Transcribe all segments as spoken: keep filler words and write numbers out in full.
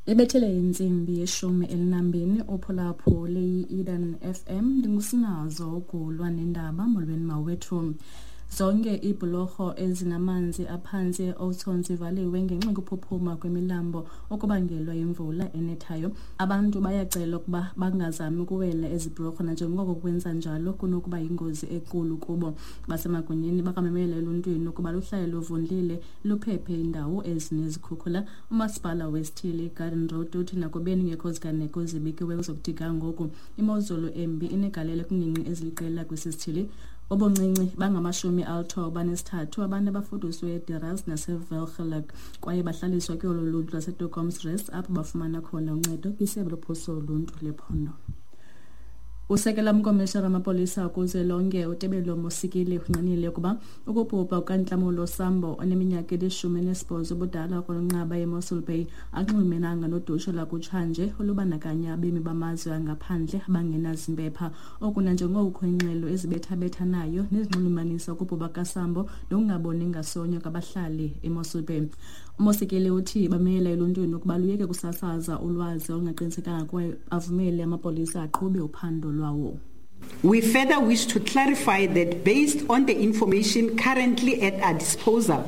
Ibethele intsimbi yeshumi elinambini uphulaphule i-Eden F M, ndingusinazo ugulwa nendaba. Molweni mawethu. Zonke iibhulorho ezinamanzi aphantsi e-Oudtshoorn zivaliwe ngenxa yokuphuphuma kwemilambo okubangelwa yimvula enethayo. Abantu bayacelwa ukuba bangazami ukuwela ezi bhulorho nanjengoko kwenza njalo kunokuba yingozi enkulu kubo. Basemagunyeni bakwamemela eluntwini ukuba luhlale luvundlile, luphephe iindawo ezinezikhukhula. Umasipala wesithili iGarden Road uthi nakubeni kungekho ziganeko zibikiweyo zokuthi ga ngoku, imozulu embi inegalelo kwiingingqi eziliqela kwesi sithili. Ubuncinci bangamashumi alithoba anesithathu abantu abafuduswe eDeRas naseWelgeluk kwaye bahlaliswa kuyolo luntu lwaseToekomsrus, apho bafumana khona uncedo kwisebe lophuhliso loluntu lephondo. Usekela mkomishara wamapolisa kuzwelonke uTebello Mosikili ungqinile ukuba ukubhubha kukaNtlamulo Sambo oneminyaka elishumi elinesibhozo ubudala kwinqaba yeMossel Bay akunxulumenanga nodushe lwakutshanje olubandakanya abemi bamazwe angaphandle abangenazimpepha. Oku nanjengoko kukho iingxelo ezibethabethanayo nezinxulumanisa ukubhubha kukaSambo nokungaboni ngasonye kwabahlali eMossel Bay. UMosikili uthi bamela eluntwini ukuba luyeke kusasaza ulwazi olungaqinisekanga kwaye avumele amapolisa aqhube uphando lwawo. We further wish to clarify that based on the information currently at our disposal,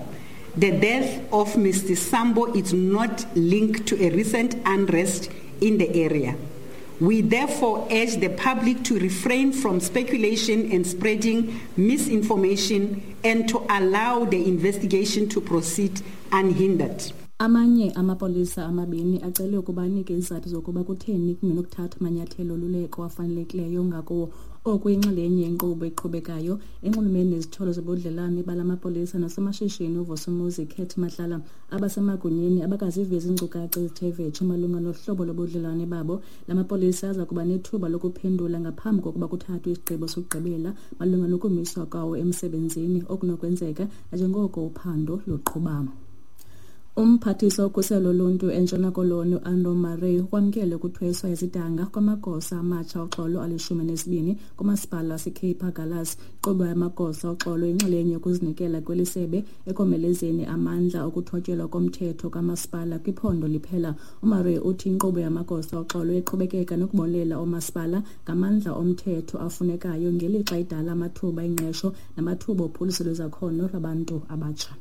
the death of Mister Sambo is not linked to a recent unrest in the area. We therefore urge the public to refrain from speculation and spreading misinformation and to allow the investigation to proceed unhindered. Amanye amapolisa amabini acelwe ukuba anike izizathu zokuba kutheni kungenokuthathwa amanyathelo oluleko afanelekileyo ngakuwo. Oku yinxalenye yenkqubo eqhubekayo enxulumene nezityholo zobudlelwane bala mapolisa nosomashishini uVusimuzi Cat Matlala. Abasemagunyeni abakazivezi iinkcukacha ezithe vetshe malunga nohlobo lobudlelwane babo. La mapolisa aza kuba nethuba lokuphendula ngaphambi kokuba kuthathwe isigqibo sokugqibela malunga nokumiswa kwawo emsebenzini okunokwenzeka nanjengoko uphando luqhuba. Umphathiswa wokhuselo loluntu eNtshona Koloni uAnroe Murray ukwamkele ukuthweswa izidanga kwamagosa amatsha oxolo alishumi elinesibini kumasipala waseCape Agulhas. Inkqubo yamagosa oxolo yinxalenye yokuzinikela kweli sebe ekomelezeni amandla okuthotyelwa komthetho kamasipala kwiphondo liphela. UMurray uthi inkqubo yamagosa oxolo iqhubekeka nokubonelela oomasipala ngamandla omthetho afunekayo ngelixa idala amathuba engqesho namathuba ophuhliso lwezakhono lwabantu abatsha.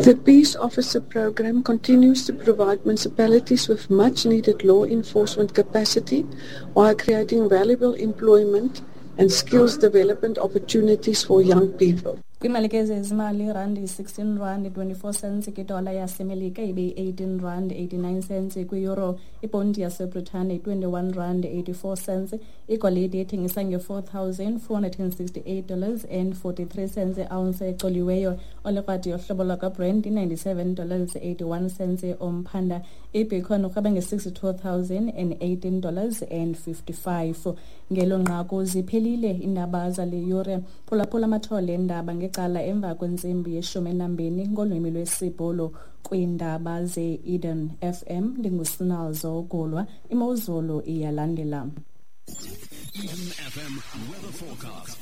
The Peace Officer Program continues to provide municipalities with much needed law enforcement capacity while creating valuable employment and skills development opportunities for young people. Kwimalike zezimali, irandi sixteen rand twenty-four cents kwidola yaseMelika, ibe yi-eighteen rand eighty-nine cents kwi-euro. Iponti yaseBritane twenty-one rand eighty-four cents. Igolide ithengisa nge-four thousand four hundred and sixty-eight dollars and forty-three cents i-ounce ecoliweyo. Olikrwada yohlobo lwakwaBrent i-ninety-seven dollars eighty-one cents umphanda. Ibitcoin urhweba nge-sixty-two thousand and eighteen dollars and fifty-five. Ngelo nqaku ziphelile iindaba zale yure. Phulaphula amathole eendaba ngecala emva kwentsimbi yeshumi enambini ngolwimi lwesiBhulu kwiindaba ze-Eden F M. Ndingusinazo Gulwa. Imozulu iyalandela. Eden F M weather forecast.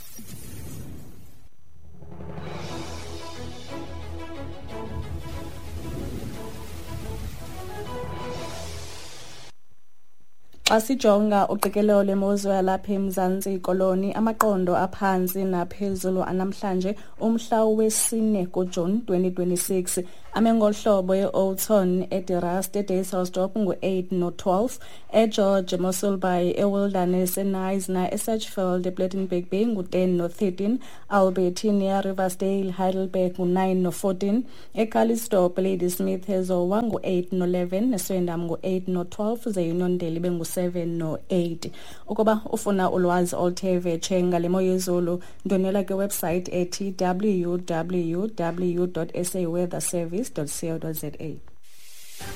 Xa sijonga uqikelelo lwemozulu yalapha eMzantsi Koloni, amaqondo aphantsi naphezulu anamhlanje umhla wesine kuJuni twenty twenty-six ame ngolu hlobo: e-Oudtshoorn, eDe Rust, eDysselsdorp ngu-eight no-twelve, eGeorge, eMossel Bay, eWilderness, eKnysna, eSedgefield, ePlettenberg Bay ngu-ten no-thirteen, Albertinia, Riversdale, Heidelberg ngu-nine no-fourteen, eCalitzdorp, Ladysmith, eZowa ngu-eight no-eleven, eSwellendam ngu-eight no-twelve, ze Uniondale ibe ngu-seven no-eight. Ukuba ufuna ulwazi oluthe vetshe ngale mo yezulu, ndwendwela kwiwebsite ethi W W W dot S A weather service dot co dot za.